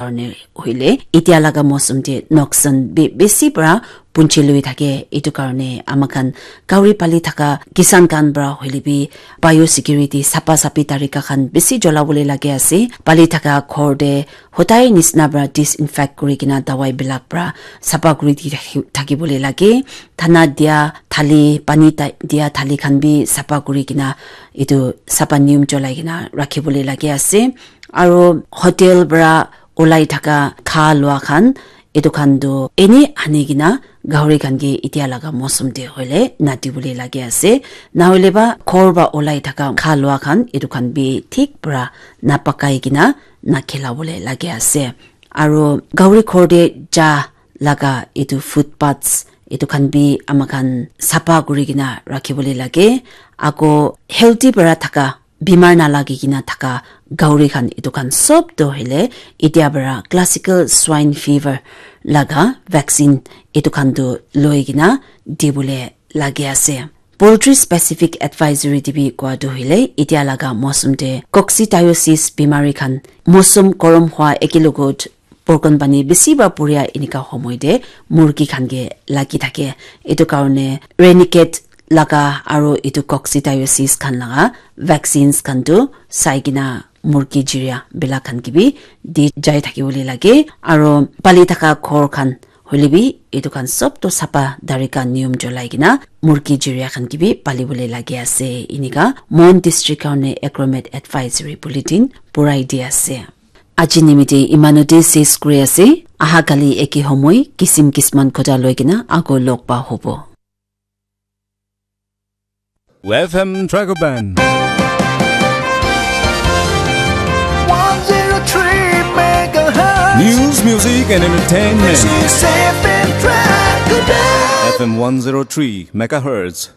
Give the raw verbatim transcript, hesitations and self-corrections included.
karne hoile, etia laga mosum te noksan bi besi para punchi lui thake. Etu karne ama khan gauri pali thaka kisan khan para hoile bi biosecurity, sapa sapi tarika khan besi jola bole lage ase. Pali thaka ghor te hodai nisna para disinfect kuri kena dawai bilak para sapa kuri di thaki, thaki bole lage. Thana dia thali, pani ta-, dia thali khan bi sapa kuri kena etu sapa niyom cholai kena rakhi bole lage ase. Aro hotel para olai thaka kha lua khan, etu khan tu eni ani kena gauri khan ke etia laga mosum te hoile nadi bole lage ase. Na hoile ba ghor para olai thaka kha lua khan, etu khan bi thik para napakai kena nakhela bole lage ase. Aro gauri ghor te ja laga etu footpaths, etu khan bi ama khan sapa kuri kena rakhi bole lage. Ako healthy para thaka, bimar na lagi kena thaka gauri khan, etu khan sob to hoile etia para classical swine fever laga vaccine etu khan tu loi kena di bole lage ase. Poultry specific advisory te bi koa tu hoile etia laga mosum te coccidiosis bimari khan, mosum gorom hua ekelogot borkon pani besi para puria enika homoi te murgi khan ke lagi thake. Etu karne ranicate laga aro etu coccidiosis khan laga vaccines khan tu sai kena murgi jiria bila khan ke bi di jai thaki bole lage. Aro pali thaka ghor khan hoile bi etu khan sob to sapa tarika niyom cholai kena murgi jiria khan ke bi pali bole lage ase. Enika Mon district karne agromet advisory bulletin purai di ase. Aji nimite imanu te ses kuri ase. Aha kali eke homoi kisim kisman khota loi kena ako log pa hobo. F M Dragon Band. one zero three megahertz. News, music, and entertainment. This is F M Dragon Band. F M one zero three megahertz.